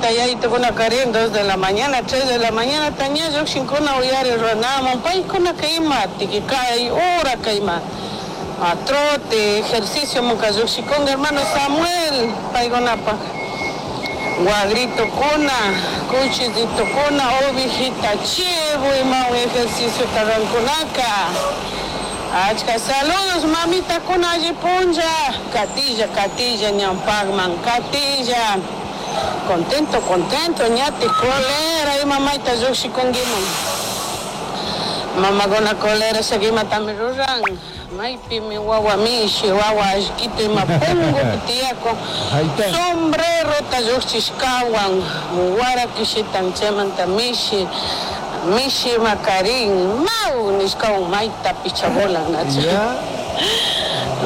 Tayta yayitukunakarin 2 de la mañana, 3 de la mañana ña llukshinkuna uyari ruranamun paykunaka ima tiki kay hora kayma trote, ejercicio munka llukshikunka hermano Samuel paykunapak wagritukuna, cuchillitukuna, ovejita, chivo imawan ejerciciota rurankunaka. Achka saludos mamitakuna alli punlla, katilla, katilla ñawpakman, katilla. Contento, contento, ñatik colera ima mayta llukshikunkiman. Mamakuna colera imatami ruran, maypimi wawa mishi, wawa allkitu ima pungupi tiyakun, sombrerota llukchishkawan, wara kishitan chaymanta mishi, mishi makarin, maw nishkawan mayta picha volan nachu.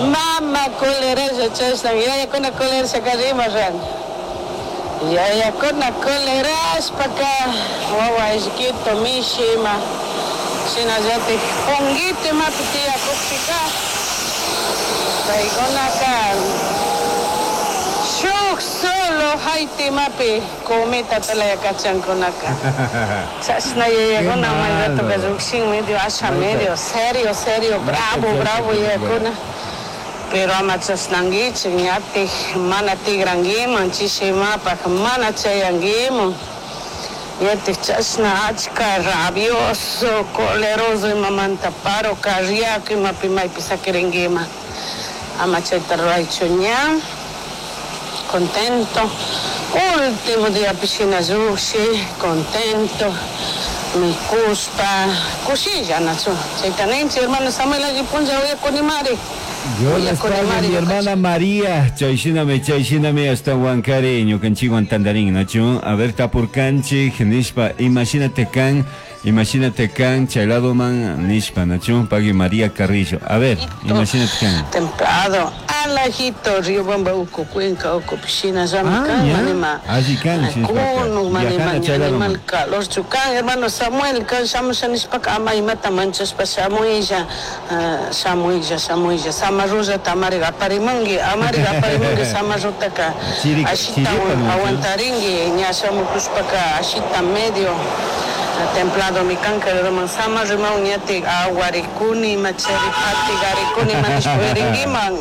Mama coleralla chashna, yayakuna colerashaka rima ran. Yayakuna colerashpaka wawa allkitu mishi ima shinallatik punguito imapi tiyakukpika paykunaka shuk solo hayti imapi cometa talaya kachankunaka. Chashna yayakuna may ratoka llukshin medio asha medio serio serio bravo bravo yayakuna. Pero ama chashnankichik ñatik mana tigrankiman chishi imapak mana chayankiman. Ñatik chashna achka rabioso, coleroso imamanta paro carriaco imapi maypi sakirinkiman. Ama chayta ruraychu ña. Contento. Último diapi shina llukshi, contento. Mikushpa, kushilla nachu. Chayta ninchik hermano Samuel alli punlla uyakunimari. Dios les pague, mi hermana María. Chayshinami, chayshinami hasta Huancari, ñukanchikwan tandarin, nachu. A ver, tapurkanchik, nishpa, imagínate kan, imagínate kan, chay ladoman, nishpa, nachu, pague María Carrillo. A ver, imagínate kan. Templado, alajito, Riobamba, uku, Cuenca, uku, piscina, llama Ah, kan, ya. manima. Allí kan, Kunu, shinashpaka. manima, Viajana chay animal ladoman. calor, chukan, hermano Samuel, kan, shamusha nishpaka, ama imata manchashpa, shamuylla, shamuylla, shamuylla, samarrullata amariga aparimunki, amariga aparimunki, samarrutaka, Chiri- ashita chiripa, ¿no? aguantarinki, ña shamukushpaka, ashita medio, templado mi kanka, hermano, samarrimaw ñatik aguarikuni, machari patigarikuni, manishpurinkiman.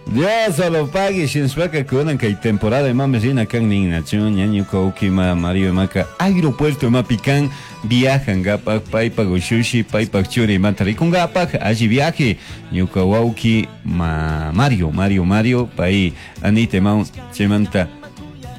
Dios lo pague, shinashpaka kunan kay temporada imami rina kan nin nachu, ñañuka ukima Mario imaka aeropuerto imapi kan viajangapak paypak ushushi paypak churi imata rikungapak alli viaje ñuka wawki ma Mario, Mario, Mario pay Anita imawan chaymanta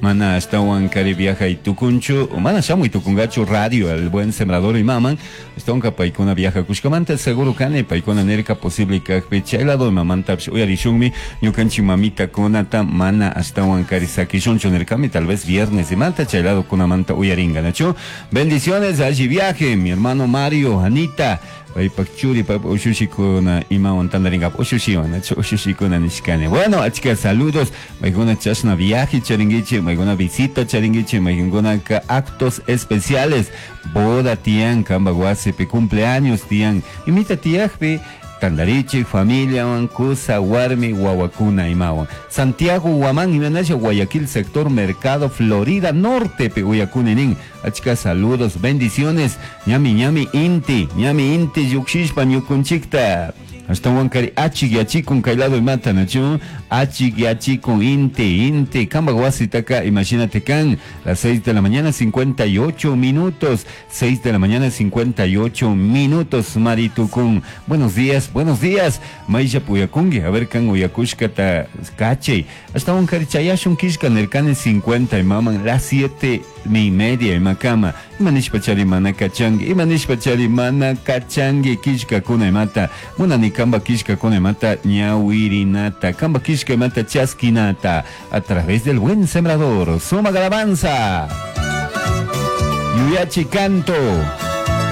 mana ashtawan kari viajay tukunchu o mana shamuy tukungachu radio el buen sembrador imaman ashtawanka paykuna viajakushkamanta seguro kani paykuna nirka posible kakpi chay lado imamantapish uyarishunmi ñukanchik mamitakunata mana ashtawan kari sakishunchu nirkami tal vez viernes imanta chay lado kunamanta uyaringa nachu. Bendiciones alli viaje mi hermano Mario, Anita paypak churi paypak ushushikuna imawan tandarinkapak ushushiwan nachu ushushikuna nishkani. Bueno, achka saludos maykuna chashna viaje charinkichik maykuna visita charinkichik maykunaka actos especiales boda tiyan kanpak wasipi cumpleaños tiyan imita tiyakpi tandarichik familiawan kusa warmi wawakuna imawan. Santiago Huamán imanasha Guayaquil sector Mercado Florida Norte pe uyakuni nin. Achka saludos, bendiciones. Ñami ñami inti, ñami inti yukshishpa ñukunchikta. Hasta Huancari achik yachikun kay lado imata nachu, achik yachikun inti, inti, kamba wasitaka, imagínate kan, las 6 de la mañana 58 minutos, 6 de la mañana 58 minutos, Maritukun. Buenos días, buenos días, Maisha Puyakungi, a ver kan uyakushkata kachay. Hasta Huancari chayashun kishka nerkane 50 y maman, las 7:30 imakama. Imanishpa chari mana kachangi, imanishpa chari mana kachangi, kishka kuna imata, munani kamba kishka kuna imata, ñawirinata, kamba kishka imata chasquinata, a través del buen sembrador, suma alabanza. Yuyachi canto.